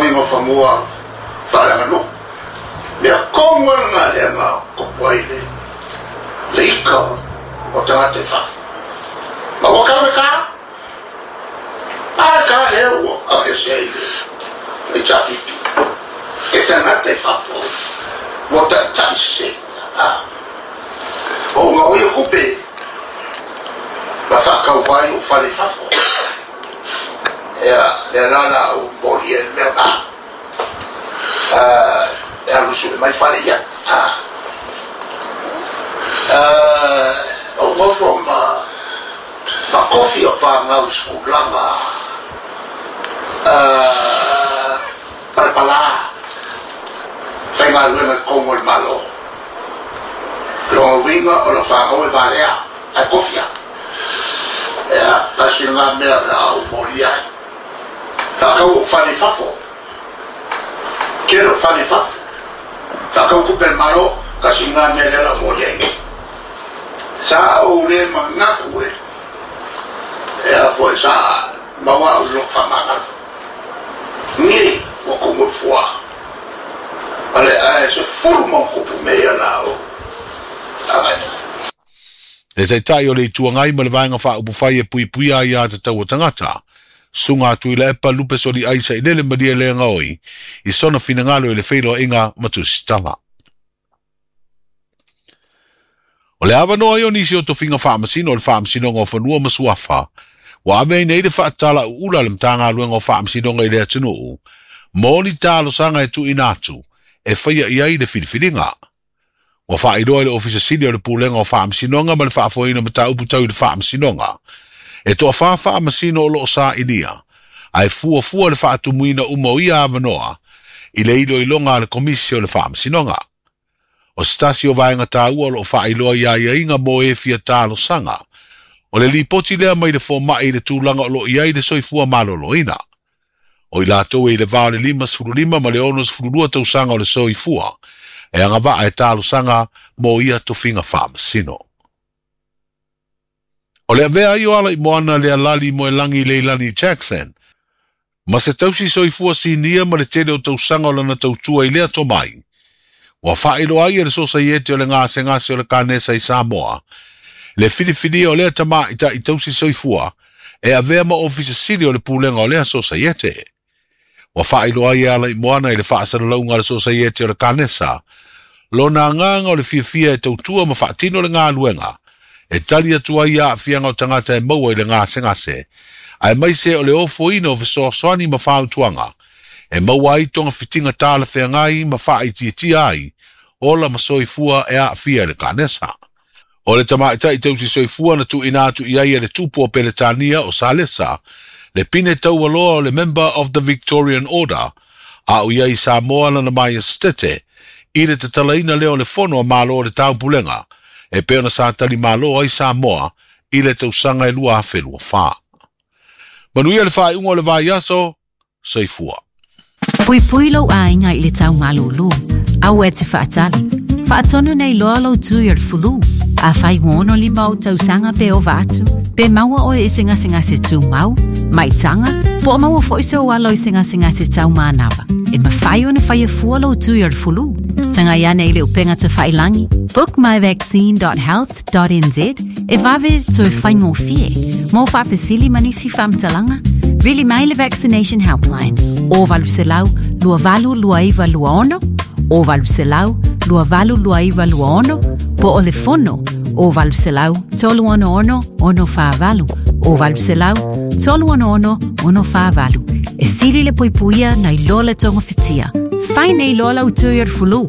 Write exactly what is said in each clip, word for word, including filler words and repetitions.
Kauiga o fanua faaleaganuu. Mea tonu lava lena lea na tupu ai le le ika o tagata i fafo. Ma ua tau le ta. A le ta lea ua aveesea i le H R P P. E tagata i fafo ua taitai sese. O uga o ia tupe ma faatau ai o fale i fafo. Ia, lea la la ou molia i le mea lena. E alu sue mai fale ia. O nofo ma ma kofi o fanau i sekulaga palapala faigaluega i totonu o le Malo. Lona uiga o lau fanau e valea ae kofi lava. Ia, tasi lena mea o le a ou molia ai. Faatau ou fale i fafo. Tele o fale i fafo. Faatau tupe a le Malo, tasi lena mea lea o le a ou molia ai nei. Sa ou le manatu e e a foi sa maua au i lou faamagalo. Nei ua tumu i le fua. Ale ae sefulu ma ona tupu mea ia la ou agai ai. Le Taitai o le Itu Agai ma le Vaega Faaupufai e Puipuia ai Aiatatau a Tagata, Susuga a Tuilaepa Lupe Soliai Sailele Malielegaoi i sona finagalo i le feiloaiga ma Tusitala. O le avanoa ai o nisi o tofiga faamasino o le Faamasinoga o Fanua ma Suafa ua ave ai nei le faatala uula a le Matagaluega o Faamasinoga i le atunuu mo ni talosaga e tuuina atu e faia i ai le filifiliga. Ua faailoa i le Ofisa Sili o le Pulega o Faamasinoga ma le Faafoeina o Mataupu Tau i le Faamasinoga, e toafa faamasino o lo o sailia, ae fuafua le faatumuina uma o ia avanoa i le iloiloga a le Komisi o le Faamasinoga. O se tasi o vaega taua o lo o faailoa i aiaiga mo e fia talosaga, o le lipoti lea mai le fomai i le tulaga o lo o i ai le soifua maloloina. O i latou e i le va o le limasefulu lima ma le onosefulu lua tausaga o le soifua, e agavaa e talosaga mo ia tofiga faamasino. O le avea ai o Alaimoana Lealali Moelangi Leilani Jackson, ma se tausi soifua sinia ma le tele o tausaga o lana tautua i lea tomai, ua faailoa ai e le Sosaiete o le Gasegase o le Kanesa i Samoa, le filifilia o lea tamaitai tausi soifua e avea ma Ofisa Sili o le Pulega o lea Sosaiete. Ua faailoa ai e Alaimoana i le faasalalauga a le Sosaiete o le Kanesa, lona agaga o le fiafia e tautua ma faatino le galuega e tali atu ai i aafiaga o tagata e maua i le gasegase, aemaise o le ofoina o fesoasoani ma fautuaga e maua ai togafitiga talafeagai ma faaitiitia ai ola ma soifua e aafia i le kanesa. O le tamaitai tausi soifua na tuuina atu i ai e le tupu o Peretania o Salesa, le pine taualoa o le Member of the Victorian Order, a o i ai i Samoa lana Maiestete, i le tatalaina lea o le Fono a Malo o le Taupulega, e pei ona sa talimalo ai Samoa i le tausaga e lua afe lua fa. Manuia le faaiuga o le vaiaso, soifua. Puipui lou aiga i le tau malūlū. Aua e te faatali. Faatonu nei loa lou tui o le fulu. Afai ua ono lima ou tausaga pe ova atu, pe maua oe i se gasegase tumau, maitaga, po o maua foi sou alo i se gasegase taumanava, e mafai ona faia fua lou tui o le fulu. Tagai ane i le upega tafailangi book my vaccine dot health dot n z e vave toe faigofie. Mo faafesili ma nisi faamatalaga, vili mai le Vaccination Helpline o valu selau lua valu lua iva lua ono, o valu selau lua valu lua iva lua ono, po o le fono o valu selau tolu ono ono ono fa valu, o valu selau tolu ono ono ono fa valu. E sili le puipuia nai lo le togofitia. Fai nei loa lau tui o le fulu.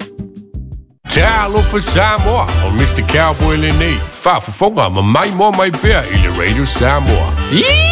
Talofa Samoa, o Mister Cowboy lenei, faafofoga ma maimoa mai pea i le Radio Samoa. Yee!